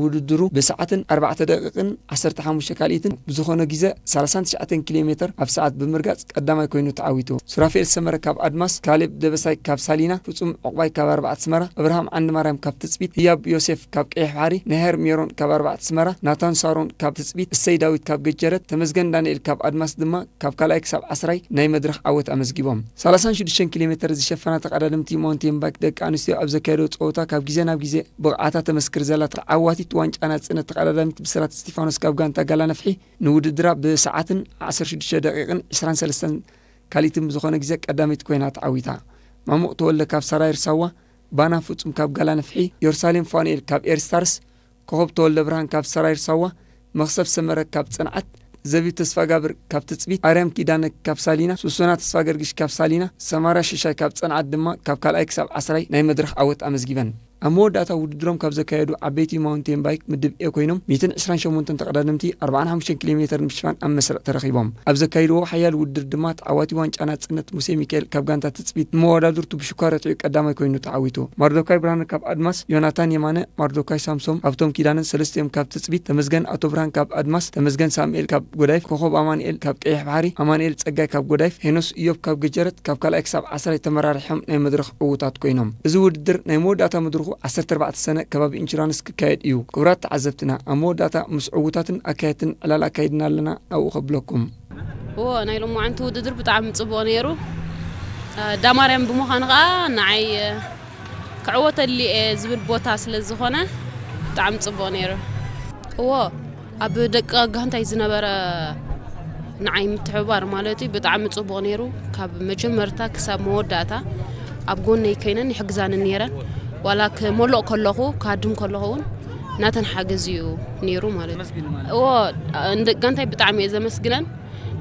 ውድድሩ ብሰዓትን ኣርባዕተ ደቂቕን ዓሰርተ ሓሙሽተ ካልኢትን ብዝኾነ ግዜ ሰላሳን ትሽዓተን ኪሎ ሜተር ኣብ ሰዓት ብምርጋጽ ቀዳማይ ኮይኑ ተዓዊቱ። ሱራፌል ሰመረ ካብ ኣድማስ፣ ካሌብ ደበሳይ ካብ ሳሊና፣ ፍጹም ዕቑባይ ካብ ኣርባዕተ ኣስመራ፣ እብርሃም ዓንድማርያም ካብ ትጽቢት፣ ህያብ ዮሴፍ ካብ ቀይሕ ባሕሪ፣ ነሄር ሜሮን ካብ ኣርባዕተ ኣስመራ፣ ናታን ሳሮን ካብ ትጽቢት፣ እሰይ ዳዊት ካብ ገጀረት፣ ተመስገን ዳንኤል ካብ ኣድማስ ድማ ካብ ካልኣይ ክሳብ ዓስራይ ናይ መድረኽ ዓወት ኣመዝጊቦም። ሰላሳን ሽዱሽተን ኪሎ ሜተር ዝሸፈና ተቐዳደምቲ ማውንቴን ባይክ ደቂ ኣንስትዮ ኣብ ዘካየደኦ ጸወታ ካብ ግዜ ናብ ግዜ ብቕዓታ ተመስክር ዘላ ተዓዋቲት ዋንጫ ናጽነት ተቐዳዳሚት ብስራት እስቲፋኖስ ካብ ጋንታ ጋላ ነፍሒ ንውድድራ ብሰዓትን ዓሰርተ ሽዱሽተ ደቂቕን ዕስራን ሰለስተን ካልኢትን ብዝኾነ ግዜ ቀዳመይቲ ኮይና ተዓዊታ። ማሙቕ ተወልደ ካብ ሰራይር ሳዋ፣ ባና ፍጹም ካብ ጋላ ነፍሒ፣ ዮርሳሌም ፋኑኤል ካብ ኤርስታርስ፣ ኮኸብ ተወልደ ብርሃን ካብ ሰራይር ሳዋ፣ መኽሰብ ሰመረ ካብ ጽንዓት፣ ዘቢብ ተስፋጋብር ካብ ትጽቢት፣ ኣርያም ኪዳነ ካብ ሳሊና፣ ሱሱና ተስፋገርግሽ ካብ ሳሊና፣ ሰማራ ሽሻይ ካብ ጽንዓት ድማ ካብ ካልኣይ ክሳብ ዓስራይ ናይ መድረኽ ዓወት ኣመዝጊበን። ኣብ መወዳእታ ውድድሮም ካብ ዘካየዱ ዓበይቲ ማውንቴን ባይክ ምድብ ኤ ኮይኖም ሚእትን ዕስራን ሸሞንተን ተቐዳደምቲ ኣርባዓን ሓሙሽተን ኪሎ ሜተር ንምሽፋን ኣብ መስርዕ ተረኺቦም። ኣብ ዘካይድዎ ሓያል ውድድር ድማ ተዓዋቲ ዋንጫ ናጽነት ሙሴ ሚካኤል ካብ ጋንታ ትጽቢት ንመወዳድርቱ ብሽኳ ረቲዑ ቀዳማይ ኮይኑ ተዓዊቱ። ማርዶካይ ብርሃነ ካብ ኣድማስ፣ ዮናታን የማነ፣ ማርዶካይ ሳምሶም፣ ሃብቶም ኪዳነን ሰለስቲኦም ካብ ትጽቢት፣ ተመስገን ኣቶ ብርሃን ካብ ኣድማስ፣ ተመስገን ሳሙኤል ካብ ጎዳይፍ፣ ኮኸብ ኣማኑኤል ካብ ቀይሕ ባሕሪ፣ ኣማኑኤል ጸጋይ ካብ ጎዳይፍ፣ ሄኖስ ኢዮብ ካብ ገጀረት ካብ ካልኣይ ክሳብ ዓስራይ ተመራሪሖም ናይ መድረኽ ዕዉታት ኮይኖም። እዚ ውድድር ናይ መወዳእታ መድረኹ ዓሰርተ ኣርባዕተ ሰነ ከባቢ ኢንሹራንስ ክካየድ እዩ። ክቡራት ተዓዘብትና፣ ኣብ መወዳእታ ምስ ዕዉታትን ኣካየድትን ዕላል ኣካይድና ኣለና፣ ኣብኡ ከብለኩም። እዎ፣ ናይ ሎማዓንቲ ውድድር ብጣዕሚ ጽቡቕ ነይሩ። እ፣ ዳማርያም ብምዃኑ ኸኣ ንዓይ፣ እ፣ ክዕወተሉ እየ ዝብል ቦታ ስለ ዝኾነ ብጣዕሚ ጽቡቕ ነይሩ። እዎ፣ ኣብ ደቂ ጋንታይ ዝነበረ ንዓይ ምትሕብባር ማለት እዩ ብጣዕሚ ጽቡቕ ነይሩ። ካብ መጀመርታ ክሳብ መወዳእታ ኣብ ጎነይ ኮይነን ይሕግዛኒ ነይረን። ዋላ ክመልቕ ከለኹ፣ ክሃድም ከለኹ እውን ናተን ሓገዝ እዩ ነይሩ ማለት እዩ። እዎ፣ ንደቂ ጋንታይ ብጣዕሚ እየ ዘመስግነን።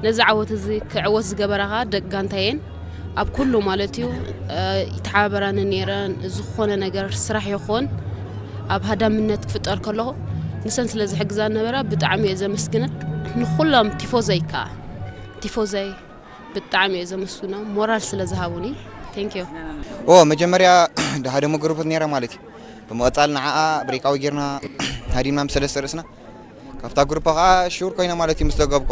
ነዚ ዓወት እዚ ክዕወት ዝገበራ ኸኣ ደቂ ጋንታየን ኣብ ኩሉ ማለት እዩ፣ እ፣ ይተሓባበራኒ ነይረን። ዝኾነ ነገር ስራሕ ይኹን ኣብ ሃዳምነት ክፍጠር ከለኹ ንሰን ስለ ዝሕግዛ ነበራ ብጣዕሚ እየ ዘመስግነን። ንኹሎም ቲፎዘይ ከኣ፣ ቲፎዘይ ብጣዕሚ እየ ዘመስግኖም ሞራል ስለ ዝሃቡኒ። Thank you። ኦ፣ መጀመርያ ሓደ መግሩፕ ነይረ ማለት እዩ። ብምቕጻል ንዓኣ ብሬካዊ ጌርና ሃዲምና ምስ ሰለስተ ርእስና ካብታ ግሩፕ ኸዓ ሹር ኮይነ ማለት እዩ ምስ ደገብኳ።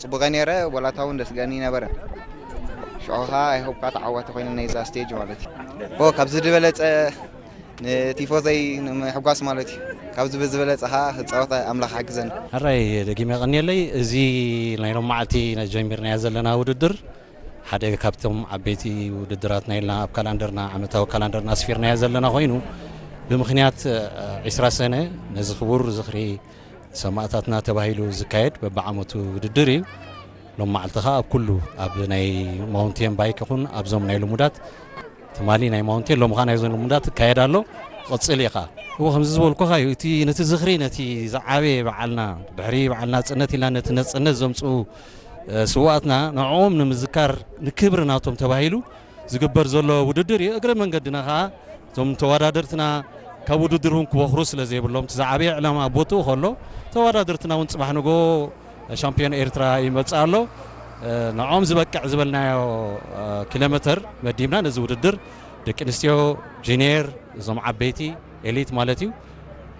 ጽቡቐ ነይረ፣ ወላታ እውን ደስ ገኒ ነበረ። ሽዑ ኸዓ ኣይሆፕ ካ ተዓዋቲ ኮይነ ናይዛ ስቴጅ ማለት እዩ። ኦ፣ ካብዚ ዝበለጸ ንቲፎዘይ ንምሕጓስ ማለት እዩ። ካብዚ ብዝበለጸ ኸዓ ክጻወት ኣምላኽ ሓግዘኒ። ሕራይ ደጊመ የቐንየለይ። እዚ ናይ ሎማዓልቲ ጀሚርናዮ ዘለና ውድድር ሓደ ካብቶም ዓበይቲ ውድድራትና ኢልና ኣብ ካላንደርና፣ ዓመታዊ ካላንደርና ኣስፊርናዮ ዘለና ኮይኑ፣ ብምኽንያት፣ እ፣ ዒስራ ሰነ ነዚ ክቡር ዝኽሪ ሰማእታትና ተባሂሉ ዝካየድ በብዓመቱ ውድድር እዩ። ሎም መዓልቲ ኸዓ ኣብ ኩሉ፣ ኣብ ናይ ማውንቴን ባይክ ይኹን ኣብዞም ናይ ልሙዳት ትማሊ ናይ ማውንቴን፣ ሎም ኸዓ ናይዞም ልሙዳት ይካየድ ኣሎ። ክቕጽል እዩ ኸዓ። እዎ፣ ከምዚ ዝበልኩኻ እዩ፣ እቲ፣ ነቲ ዝኽሪ፣ ነቲ ዝዓበየ በዓልና፣ ድሕሪ በዓል ናጽነት ኢልና ነቲ ነጽነት ዘምጽኡ፣ እ፣ ስውኣትና፣ ንዕኦም ንምዝካር፣ ንክብሪ ናቶም ተባሂሉ ዝግበር ዘሎ ውድድር እዩ። እግረ መንገድና ኸዓ እዞም ተወዳደርትና ካብ ውድድር እውን ክቦኽሩ ስለ ዘይብሎም፣ እቲ ዝዓበየ ዕላማ ኣብ ቦትኡ ከሎ፣ ተወዳደርትና እውን ጽባሕ ንጎ ሻምፒዮን ኤርትራ ይመጽእ ኣሎ። እ፣ ንዕኦም ዝበቅዕ ዝበልናዮ፣ እ፣ ኪሎ ሜተር መዲብና ነዚ ውድድር ደቂ ኣንስትዮ፣ ጁኒየር፣ እዞም ዓበይቲ፣ ኤሊት ማለት እዩ፣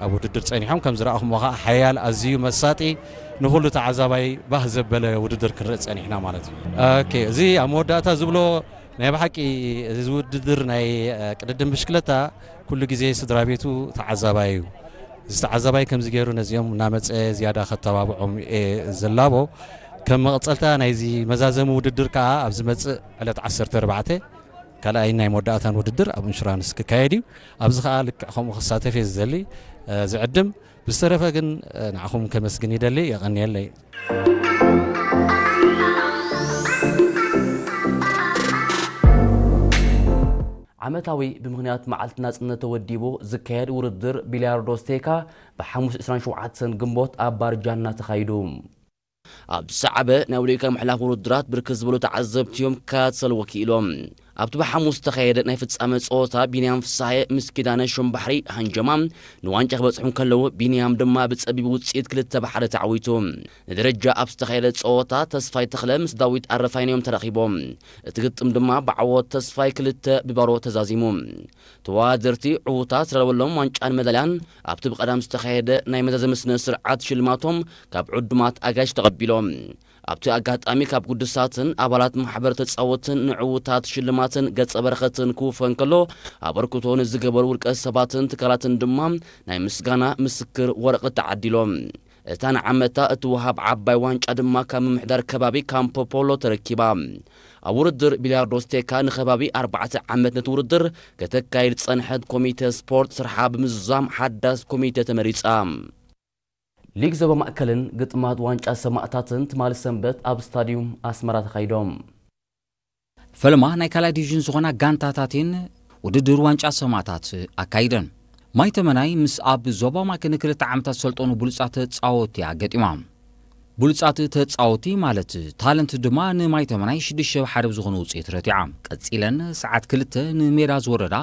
ኣብ ውድድር ጸኒሖም። ከም ዝረኣኹምዎ ኸዓ ሓያል፣ ኣዝዩ መሳጢ፣ ንኹሉ ተዓዛባይ ባህ ዘበለ ውድድር ክንርኢ ጸኒሕና ማለት እዩ። ኦኬ፣ እዚ ኣብ መወዳእታ ዝብሎ ናይ ብሓቂ እዚ ውድድር ናይ፣ እ፣ ቅድድም ብሽክለታ ኩሉ ግዜ ስድራ ቤቱ ተዓዛባይ እዩ። እዚ ተዓዛባይ ከምዚ ገይሩ ነዚኦም እናመጸ ዝያዳ ከተባብዖም እየ ዝላቦ። ከም መቐጸልታ ናይዚ መዛዘሚ ውድድር ከኣ ኣብ ዝመጽእ ዕለት ዓሰርተ ኣርባዕተ ካልኣይን ናይ መወዳእታን ውድድር ኣብ ኢንሹራንስ ክካየድ እዩ። ኣብዚ ከኣ ልክዕ ከምኡ ክሳተፍ እየ ዝደሊ፣ እ፣ ዝዕድም። ብዝተረፈ ግን፣ እ፣ ንዓኹም ከመስግን ይደሊ። የቐንየለይ። ዓመታዊ ብምኽንያት መዓልቲ ናጽነት ተወዲቡ ዝካየድ ውድድር ቢልያርዶ ስቴካ ብሓሙስ ዕስራን ሸውዓተን ግንቦት ኣብ ባርጃና ተኻይዱ። ኣብ ዝሰዓበ ናይ ኣውሮፓ ምሕላፍ ውድድራት ብርክት ዝበሉ ተዓዘብቲ እዮም ክከታተልዎ ክኢሎም። ኣብቲ ብሓሙስ ዝተኻየደ ናይ ፍጻመ ጸወታ ቢንያም ፍሳሐ ምስ ኪዳነ ሹምባሕሪ ሃንጀማ ንዋንጫ ክበጽሑ እንከለዉ፣ ቢንያም ድማ ብጸቢብ ውጽኢት ክልተ ብ ሓደ ተዓዊቱ። ንደረጃ ኣብ ዝተኻየደ ጸወታ ተስፋይ ተኽለ ምስ ዳዊት ኣረፋይን እዮም ተራኺቦም። እቲ ግጥም ድማ ብዓወት ተስፋይ ክልተ ብ ባዶ ተዛዚሙ። ተወዳደርቲ ዕዉታት ዝረለበሎም ዋንጫን መዳልያን ኣብቲ ብቐዳም ዝተኻየደ ናይ መዛዘሚ ስነ ስርዓት ሽልማቶም ካብ ዕዱማት ኣጋይሽ ተቐቢሎም። ኣብቲ ኣጋጣሚ ካብ ግዱሳትን ኣባላት ማሕበር ተጻወትን ንዕዉታት ሽልማትን ገጸ በረኸትን ክውፈ እንከሎ፣ ኣበርክቶ ንዝገበሩ ውልቀ ሰባትን ትካላትን ድማ ናይ ምስጋና ምስክር ወረቐት ተዓዲሎም። እታ ንዓመታ እትወሃብ ዓባይ ዋንጫ ድማ ካብ ምምሕዳር ከባቢ ካምፖ ፖሎ ተረኪባ። ኣብ ውድድር ቢልያርዶ ስቴካ ንከባቢ ኣርባዕተ ዓመት ነቲ ውድድር ከተካይድ ዝጸንሐት ኮሚተ ስፖርት ስርሓ ብምዝዛም ሓዳስ ኮሚተ ተመሪጻ። ሊግ ዞባ ማእከልን ግጥማት ዋንጫ ሰማእታትን ትማሊ ሰንበት ኣብ ስታድዩም ኣስመራ ተኻይዶም። ፈለማ ናይ ካልኣይ ዲቪዥን ዝኾና ጋንታታት እየን ውድድር ዋንጫ ሰማእታት ኣካይደን። ማይ ተመናይ ምስ ኣብ ዞባ ማእከል ንክልተ ዓመታት ዝሰልጠኑ ብሉጻት ተጻወትቲ እያ ገጢማ። ብሉጻት ተጻወትቲ ማለት ታለንት ድማ ንማይ ተመናይ ሽዱሽተ ብ ሓደ ብዝኾነ ውጽኢት ረቲዓ። ቀጺለን ሰዓት ክልተ ንሜዳ ዝወረዳ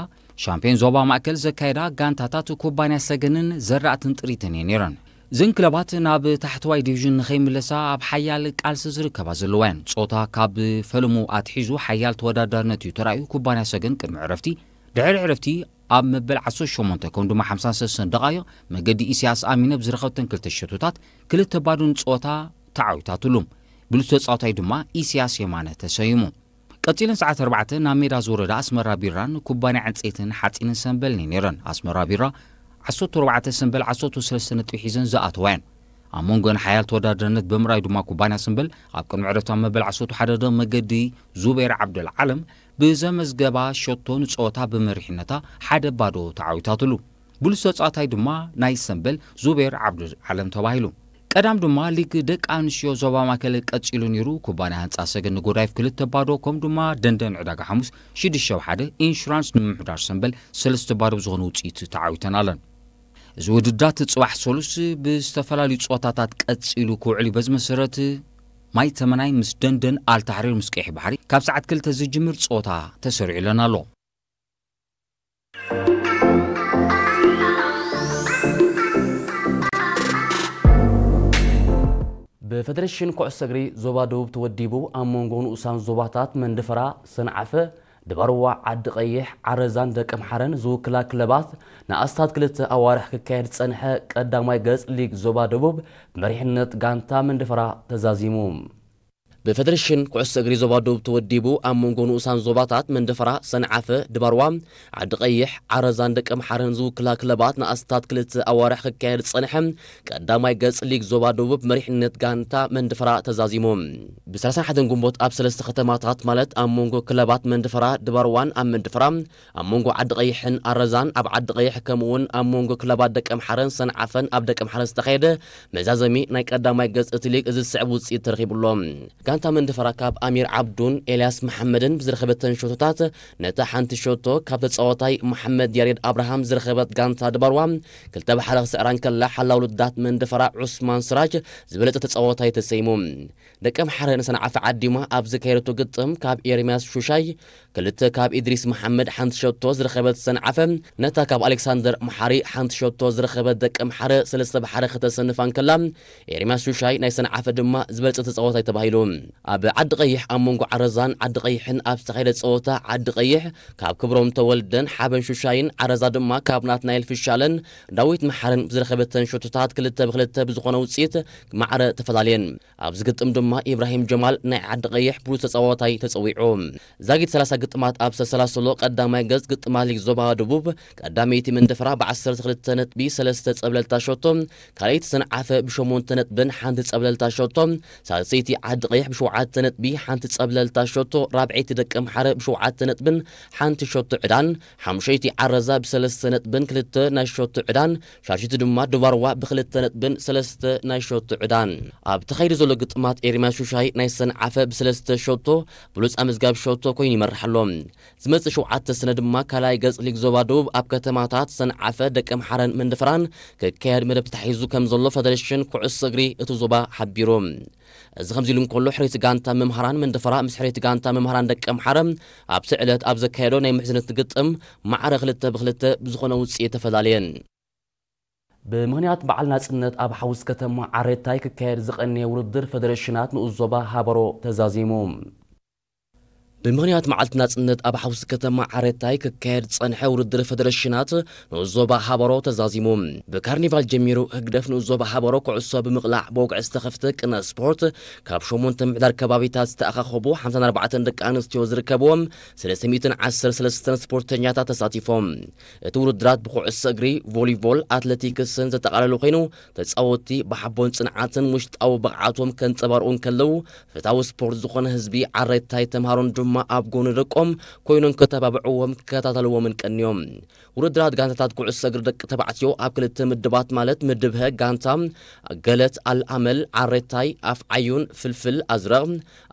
ሻምፒዮን ዞባ ማእከል ዘካየዳ ጋንታታት ኩባንያ ሰገንን ዘራእትን ጥሪትን እየን ነይረን። እዘን ክለባት ናብ ታሕተዋይ ዲቪዥን ንኸይምለሳ ኣብ ሓያል ቃልሲ ዝርከባ ዘለዋ እየን። ጾታ ካብ ፈለሙ ኣትሒዙ ሓያል ተወዳዳርነት እዩ ተራእዩ። ኩባንያ ሰገን ቅድሚ ዕረፍቲ፣ ድሕሪ ዕረፍቲ ኣብ መበል ዓሰርተ ሸሞንተ ከም ድማ ሓምሳን ሰለስተን ደቓይቕ መገዲ ኢሳያስ ኣሚነ ብዝረኸብተን ክልተ ሸቶታት ክልተ ባዶ ንጸወታ ተዓዊታትሉ። ብሉጽ ተጻዋታይ ድማ ኢሳያስ የማነ ተሰይሙ። ቀጺለን ሰዓት ኣርባዕተ ናብ ሜዳ ዝወረዳ ኣስመራ ቢራን ኩባንያ ዕንጸይትን ሓጺንን ሰምበልን እየን ነይረን። ኣስመራ ቢራ ዓሰርተ ኣርባዕተ ሰምበል ዓሰርተ ሰለስተ ነጥቢ ሒዘን ዝኣተዋ እየን። ኣብ መንጎን ሓያል ተወዳዳርነት ብምርኣይ ድማ ኩባንያ ሰምበል ኣብ ቅድሚ ዕረፍቲ ኣብ መበል ዓሰርተ ሓደ ደቕ መገዲ ዙቤር ዓብደል ዓለም ብዘመዝገባ ሸቶ ንጸወታ ብመሪሕነታ ሓደ ባዶ ተዓዊታትሉ። ብሉጽ ተጻዋታይ ድማ ናይ ሰምበል ዙቤር ዓብደል ዓለም ተባሂሉ። ቀዳም ድማ ሊግ ደቂ ኣንስትዮ ዞባ ማእከል ቀጺሉ ነይሩ። ኩባንያ ህንጻ ሰገን ንጎዳይፍ ክልተ ባዶ፣ ከም ድማ ደንደን ዕዳጋ ሓሙስ ሽዱሽተ ብ ሓደ፣ ኢንሹራንስ ንምምሕዳር ሰምበል ሰለስተ ባዶ ብዝኾነ ውጽኢት ተዓዊተን ኣለን። እዚ ውድዳት ጽባሕ ሰሉስ ብዝተፈላለዩ ጸወታታት ቀጺሉ ክውዕል እዩ። በዚ መሰረት ማይ ተመናይ ምስ ደንደን ኣልታሕሪር ምስ ቀይሕ ባሕሪ ካብ ሰዓት ክልተ ዝጅምር ጸወታ ተሰሪዑለን ኣሎ። ብፌደሬሽን ኩዕሶ እግሪ ዞባ ደቡብ ተወዲቡ ኣብ መንጎ ንኡሳን ዞባታት መንደፈራ፣ ሰንዓፈ፣ ድባርዋ፣ ዓዲ ቀይሕ፣ ዓረዛን ደቀምሓረን ዝውክላ ክለባት ንኣስታት ክልተ ኣዋርሕ ክካየድ ዝጸንሐ ቀዳማይ ገጽ ሊግ ዞባ ደቡብ ብመሪሕነት ጋንታ መንደፈራ ተዛዚሙ። ብፌደሬሽን ኩዕሶ እግሪ ዞባ ደቡብ ተወዲቡ ኣብ መንጎ ንኡሳን ዞባታት መንደፈራ፣ ሰንዓፈ፣ ድባርዋ፣ ዓዲ ቀይሕ፣ ዓረዛን ደቀምሓረን ዝውክላ ክለባት ንኣስታት ክልተ ኣዋርሕ ክካየድ ዝጸንሐ ቀዳማይ ገጽ ሊግ ዞባ ደቡብ መሪሕነት ጋንታ መንደፈራ ተዛዚሙ። ብ ሰላሳን ሓደን ግንቦት ኣብ ሰለስተ ከተማታት ማለት ኣብ መንጎ ክለባት መንደፈራ፣ ድባርዋን ኣብ መንደፈራ፣ ኣብ መንጎ ዓዲ ቀይሕን ኣረዛን ኣብ ዓዲ ቀይሕ ከምኡውን ኣብ መንጎ ክለባት ደቀምሓረን ሰንዓፈን ኣብ ደቀምሓረን ዝተኻየደ መዛዘሚ ናይ ቀዳማይ ገጽ እቲ ሊግ እዚ ዝስዕብ ውጽኢት ተረኺቡሎ። ጋንታ መንደፈራ ካብ ኣሚር ዓብዱን ኤልያስ መሓመድን ብዝረኸበተን ሸቶታት ነታ ሓንቲ ሸቶ ካብ ተጻዋታይ መሓመድ ያሬድ ኣብርሃም ዝረኸበት ጋንታ ድባርዋ ክልተ ብ ሓደ ክስዕራ እንከላ ሓላው ልዳት መንደፈራ ዑስማን ስራጅ ዝበለጸ ተጻዋታይ ተሰይሙ። ደቀምሓረ ንሰንዓፈ ዓዲማ ኣብ ዘካየደቶ ግጥም ካብ ኤርምያስ ሹሻይ ክልተ ካብ ኢድሪስ መሓመድ ሓንቲ ሸቶ ዝረኸበት ሰንዓፈ ነታ ካብ ኣሌክሳንደር መሓሪ ሓንቲ ሸቶ ዝረኸበት ደቀምሓረ ሰለስተ ብ ሓደ ከተሰንፋ እንከላ ኤርምያስ ሹሻይ ናይ ሰንዓፈ ድማ ዝበለጸ ተጻዋታይ ተባሂሉ። ኣብ ዓዲ ቀይሕ ኣብ መንጎ ዓረዛን ዓዲ ቀይሕን ኣብ ዝተኻየደ ጸወታ ዓዲ ቀይሕ ካብ ክብሮም ተወልደን ሓበን ሹሻይን ዓረዛ ድማ ካብ ናትናኤል ፍሻለን ዳዊት መሓርን ብዝረኸበተን ሸቶታት ክልተ ብ ክልተ ብዝኾነ ውጽኢት ማዕረ ተፈላለየን። ኣብዚ ግጥም ድማ ኢብራሂም ጀማል ናይ ዓዲ ቀይሕ ብሉጽ ተጻዋታይ ተጸዊዑ። ዛጊት ሰላሳ ግጥማት ኣብ ዝተሰላሰሎ ቀዳማይ ገጽ ግጥማት ሊግ ዞባ ደቡብ ቀዳመይቲ መንደፈራ ብ ዓሰርተ ክልተ ነጥቢ ሰለስተ ጸብለልታ ሸቶ፣ ካልኣይቲ ሰንዓፈ ብሸሞንተ ነጥብን ሓንቲ ጸብለልታ ሸቶ፣ ሳልሰይቲ ዓዲ ቀይሕ ብሸውዓተ ነጥቢ ሓንቲ ጸብለልታ ሸቶ፣ ራብዐይቲ ደቀምሓረ ብሸውዓተ ነጥብን ሓንቲ ሸቶ ዕዳን፣ ሓሙሸይቲ ዓረዛ ብሰለስተ ነጥብን ክልተ ናይ ሸቶ ዕዳን፣ ሻልሽቲ ድማ ድባርዋ ብክልተ ነጥብን ሰለስተ ናይ ሸቶ ዕዳን። ኣብ ተኻይዱ ዘሎ ግጥማት ኤርምያስ ሹሻይ ናይ ሰንዓፈ ብሰለስተ ሸቶ ብሉጽ ኣመዝጋቢ ሸቶ ኮይኑ ይመርሕ ኣሎ። ዝመጽእ ሸውዓተ ሰነ ድማ ካልኣይ ገጽ ሊግ ዞባ ደቡብ ኣብ ከተማታት ሰንዓፈ፣ ደቀምሓረን መንደፈራን ክካየድ መደብ ተታሒዙ ከም ዘሎ ፈደሬሽን ኩዕሶ እግሪ እቲ ዞባ ሓቢሩ። እዚ ከምዚ ኢሉ እንከሎ ሕሬት ጋንታ መምሃራን መንደፈራ ምስ ሕሬት ጋንታ መምሃራን ደቀምሓረ ኣብቲ ዕለት ኣብ ዘካየዶ ናይ ምሕዝነት ግጥም ማዕረ ክልተ ብክልተ ብዝኾነ ውፅኢት ተፈላለየን። ብምኽንያት በዓል ናጽነት ኣብ ሓውስ ከተማ ዓሬታይ ክካየድ ዝቐነየ ውድድር ፈደረሽናት ንኡስ ዞባ ሃበሮ ተዛዚሙ። ብምኽንያት መዓልቲ ናጽነት ኣብ ሓውስ ከተማ ዓሬታይ ክካየድ ዝጸንሐ ውድድር ፈደረሽናት ንኡስ ዞባ ሃበሮ ተዛዚሙ። ብካርኒቫል ጀሚሩ ህግደፍ ንኡስ ዞባ ሃበሮ ኩዕሶ ብምቕላዕ ብወግዒ ዝተኸፍተ ቅነ ስፖርት ካብ ሸሞንተ ምሕዳር ከባቢታት ዝተኣኻኸቡ ሓምሳን ኣርባዕተን ደቂ ኣንስትዮ ዝርከብዎም ሰለስተ ሚእትን ዓሰርተ ሰለስተን ስፖርተኛታት ተሳቲፎም። እቲ ውድድራት ብኩዕሶ እግሪ፣ ቮሊቦል፣ ኣትሌቲክስን ዘጠቓለለ ኮይኑ፣ ተጻወትቲ ብሓቦን ጽንዓትን ውሽጣዊ ብቕዓቶም ከንጸባርቑ እንከለዉ፣ ፈታዊ ስፖርት ዝኾነ ህዝቢ ዓሬታይ ተምሃሮን ድማ ኣብ ጎኒ ደቆም ኮይኖም ከተባብዕዎም ክከታተልዎምን ቀንዮም። ውድድራት ጋንታታት ኩዕሶ እግሪ ደቂ ተባዕትዮ ኣብ ክልተ ምድባት ማለት ምድብ ሀ ጋንታ ገለት ኣልኣመል ዓሬታይ ኣፍ ዓዩን ፍልፍል ኣዝረቕ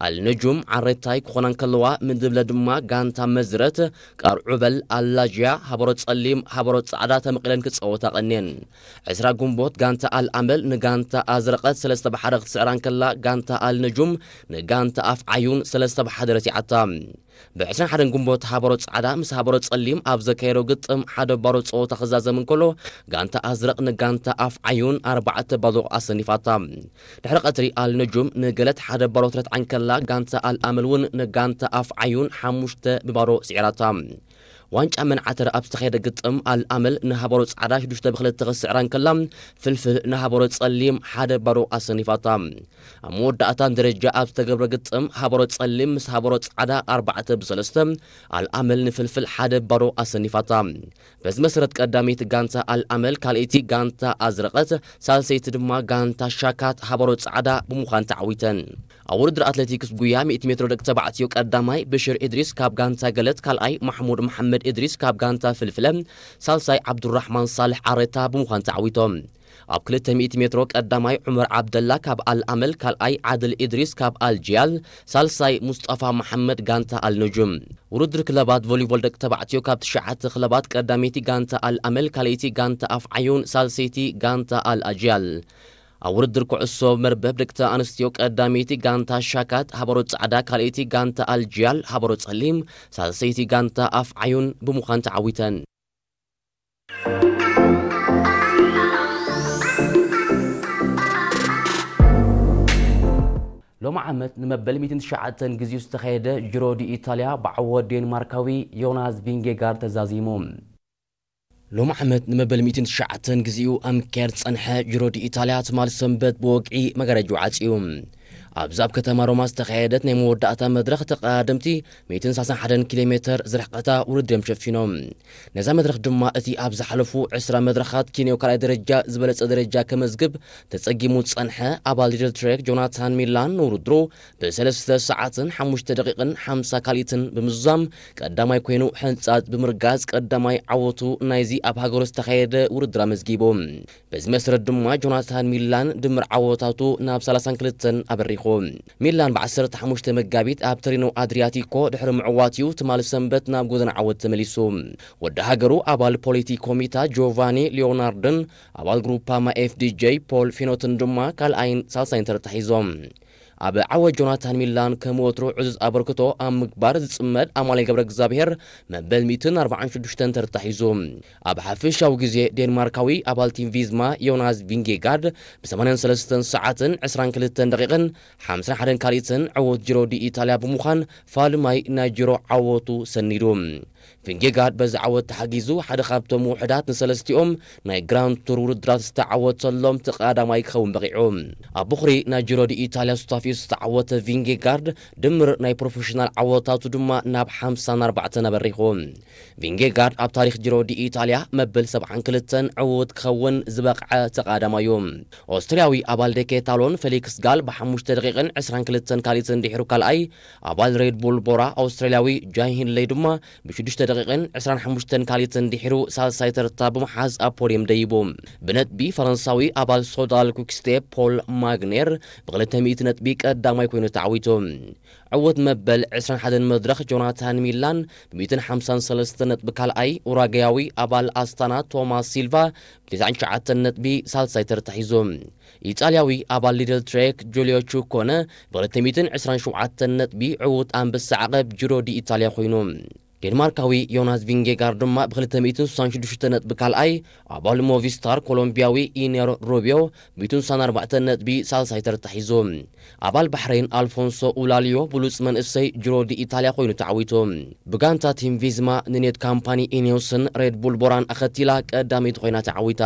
ኣልነጁም ዓሬታይ ክኾና እንከለዋ፣ ምድብ ለ ድማ ጋንታ መዝረት ቃርዑበል ኣላጅያ ሃበሮ ጸሊም ሃበሮ ጻዕዳ ተመቒለን ክጻወታ ቀንየን። ዕስራ ግንቦት ጋንታ ኣልኣመል ንጋንታ ኣዝረቐት ሰለስተ ብሓደ ክትስዕራ እንከላ፣ ጋንታ ኣልነጁም ንጋንታ ኣፍ ዓዩን ሰለስተ ብሓደ ረቲዓታ። ብ ዕስራን ሓደን ግንቦት ሃበሮ ጻዕዳ ምስ ሃበሮ ጸሊም ኣብ ዘካየዶ ግጥም ሓደ ባዶ ጸወታ ክዛዘም እንከሎ፣ ጋንታ ኣዝረቕ ንጋንታ ኣፍ ዓዩን ኣርባዕተ ባዶ ኣሰኒፋታ። ድሕሪ ቀትሪ ኣል ነጁም ንገለት ሓደ ባዶ ትረትዓ እንከላ፣ ጋንታ ኣል ኣመል እውን ንጋንታ ኣፍ ዓዩን ሓሙሽተ ብባዶ ስዒራታ። ዋንጫ መንዓተር ኣብ ዝተኻየደ ግጥም ኣል ኣመል ንሃበሮ ጻዕዳ ሽዱሽተ ብክልተ ክስዕራ እንከላ፣ ፍልፍል ንሃበሮ ጸሊም ሓደ ባዶ ኣሰኒፋታ። ኣብ መወዳእታ ደረጃ ኣብ ዝተገብረ ግጥም ሃበሮ ጸሊም ምስ ሃበሮ ጻዕዳ ኣርባዕተ ብሰለስተ፣ ኣልኣመል ንፍልፍል ሓደ ባዶ ኣሰኒፋታ። በዚ መሰረት ቀዳመይቲ ጋንታ ኣልኣመል፣ ካልኣይቲ ጋንታ ኣዝረቐት፣ ሳልሰይቲ ድማ ጋንታ ሻካት ሃበሮ ጻዕዳ ብምዃን ተዓዊተን። ኣብ ውድድር ኣትሌቲክስ ጉያ ሚእቲ ሜትሮ ደቂ ተባዕትዮ ቀዳማይ ብሽር ኢድሪስ ካብ ጋንታ ገለት፣ ካልኣይ ማሕሙድ መሓመድ ኢድሪስ ካብ ጋንታ ፍልፍለ፣ ሳልሳይ ዓብዱራሕማን ሳልሕ ዓረታ ብምዃን ተዓዊቶም። ኣብ ክልተ ሚእቲ ሜትሮ ቀዳማይ ዑመር ዓብደላ ካብ ኣል ኣመል፣ ካልኣይ ዓድል ኢድሪስ ካብ ኣል ጂያል፣ ሳልሳይ ሙስጠፋ መሓመድ ጋንታ ኣል ነጁም። ውድድር ክለባት ቮሊቦል ደቂ ተባዕትዮ ካብ ትሽዓተ ክለባት ቀዳመይቲ ጋንታ ኣል ኣመል፣ ካልኣይቲ ጋንታ ኣፍ ዓዩን፣ ሳልሰይቲ ጋንታ ኣል ኣጅያል። ኣብ ውድድር ኩዕሶ መርበብ ደቂ ኣንስትዮ ቀዳመይቲ ጋንታ ሻካት ሃበሮ ጻዕዳ፣ ካልኣይቲ ጋንታ ኣል ጂያል ሃበሮ ጸሊም፣ ሳልሰይቲ ጋንታ ኣፍ ዓዩን ብምዃን ተዓዊተን። ሎሚ ዓመት ንመበል ሚእትን ትሽዓተን ግዜኡ ዝተኻየደ ጂሮ ዲ ኢታልያ ብዓወት ዴንማርካዊ ዮናስ ቪንጌጋርድ ተዛዚሙ። ሎሚ ዓመት ንመበል ሚእትን ትሽዓተን ግዜኡ ኣብ ምክያድ ዝጸንሐ ጂሮ ዲ ኢታልያ ትማሊ ሰንበት ብወግዒ መጋረጅኡ ዓጽዩ። ኣብዚ ኣብ ከተማ ሮማ ዝተኻየደት ናይ መወዳእታ መድረኽ ተቐዳደምቲ ሚእትን ሰላሳን ሓደን ኪሎ ሜተር ዝርሕቐታ ውድድር እዮም ሸፊኖም። ነዛ መድረኽ ድማ እቲ ኣብ ዝሓለፉ ዕስራ መድረኻት ኬንያዊ ካልኣይ ደረጃ ዝበለጸ ደረጃ ከመዝግብ ተጸጊሙ ዝጸንሐ ኣባል ሊድል ትሬክ ጆናታን ሚላን ንውድድሩ ብሰለስተ ሰዓትን ሓሙሽተ ደቂቕን ሓምሳ ካልኢትን ብምዝዛም ቀዳማይ ኮይኑ ሕንጻጽ ብምርጋጽ ቀዳማይ ዓወቱ ናይዚ ኣብ ሃገሩ ዝተኻየደ ውድድር ኣመዝጊቡ። በዚ መሰረት ድማ ጆናታን ሚላን ድምር ዓወታቱ ናብ ሰላሳን ክልተን ኣበሪኹ። ሚላን ብ ዓሰርተ ሓሙሽተ መጋቢት ኣብ ተሪኖ ኣድሪያቲኮ ድሕሪ ምዕዋት እዩ ትማሊ ሰንበት ናብ ጎደና ዓወት ተመሊሱ። ወዲ ሃገሩ ኣባል ፖሊቲ ኮሚታ ጆቫኒ ሊዮናርድን ኣባል ግሩፓማ ኤፍዲጄ ፖል ፊኖትን ድማ ካልኣይን ሳልሳይን ተርታ ሒዞም። ኣብ ዓወት ጆናታን ሚላን ከም ወትሩ ዕዙዝ ኣበርክቶ ኣብ ምግባር ዝጽመድ ኣማኑኤል ገብረ እግዚኣብሔር መበል ሚእትን ኣርባዓን ሽዱሽተን ተርታ ሒዙ። ኣብ ሓፈሻዊ ግዜ ዴንማርካዊ ኣባል ቲም ቪዝማ ዮናስ ቪንጌጋርድ ብ ሰማንያን ሰለስተን ሰዓትን ዕስራን ክልተን ደቂቕን ሓምሳን ሓደን ካልኢትን ዕወት ጂሮ ዲ ኢታልያ ብምዃን ፋልማይ ናይ ጂሮ ዓወቱ ሰኒዱ። ቪንጌጋርድ በዚ ዓወት ተሓጊዙ ሓደ ካብቶም ውሑዳት ንሰለስቲኦም ናይ ግራንድ ቱር ውድድራት ዝተዓወተሎም እቲ ቀዳማይ ክኸውን በቒዑ። ኣብ ቦኽሪ ናይ ጂሮ ዲ ኢታልያ ሱታፌኡ ዝተዓወተ ቪንጌጋርድ ድምር ናይ ፕሮፌሽናል ዓወታቱ ድማ ናብ ሓምሳን ኣርባዕተን ኣበሪኹ። ቪንጌጋርድ ኣብ ታሪኽ ጂሮ ዲ ኢታልያ መበል ሰብዓን ክልተን ዕዉት ክኸውን ዝበቕዐ ተቓዳማይ እዩ። ኦስትርያዊ ኣባል ደኬታሎን ፌሊክስ ጋል ብሓሙሽተ ደቂቕን ዕስራን ክልተን ካልኢትን ድሒሩ ካልኣይ፣ ኣባል ሬድ ቡል ቦራ ኣውስትራልያዊ ጃይ ሂንለይ ድማ ብሽዱሽተ ሽዱሽተ ደቂቕን ዕስራን ሓሙሽተን ካልትን ድሒሩ ሳልሳይ ተርታ ብምሓዝ ኣብ ፖድየም ደይቡ። ብነጥቢ ፈረንሳዊ ኣባል ሶዳል ኩክስቴፕ ፖል ማግኔር ብክልተ ሚእቲ ነጥቢ ቀዳማይ ኮይኑ ተዓዊቱ። ዕውት መበል ዕስራን ሓደን መድረኽ ጆናታን ሚላን ብ ሚእትን ሓምሳን ሰለስተን ነጥቢ ካልኣይ፣ ኡራጋያዊ ኣባል ኣስታና ቶማስ ሲልቫ ብ ተስዓን ትሽዓተን ነጥቢ ሳልሳይ ተርታ ሒዙ። ኢጣልያዊ ኣባል ሊድል ትሬክ ጁልዮ ቹኮነ ብ ክልተ ሚእትን ዕስራን ሸውዓተን ነጥቢ ዕውት ኣንበሳ ዓቐብ ጂሮ ዲ ኢጣልያ ኮይኑ። ዴንማርካዊ ዮናስ ቪንጌጋር ድማ ብ ክልተ ሚእትን ስሳን ሽዱሽተ ነጥቢ ካልኣይ፣ ኣባል ሞቪስታር ኮሎምቢያዊ ኢነር ሩቢዮ ብ ሚእትን ስሳን ኣርባዕተን ነጥቢ ሳልሳይ ተርታ ሒዙ። ኣባል ባሕሬን ኣልፎንሶ ኡላልዮ ብሉጽ መንእሰይ ጅሮ ዲ ኢታልያ ኮይኑ ተዓዊቱ። ብጋንታ ቲም ቪዝማ ንኔት ካምፓኒ ኢኔውስን ሬድ ቡል ቦራን ኣኸቲላ ቀዳመይቲ ኮይና ተዓዊታ።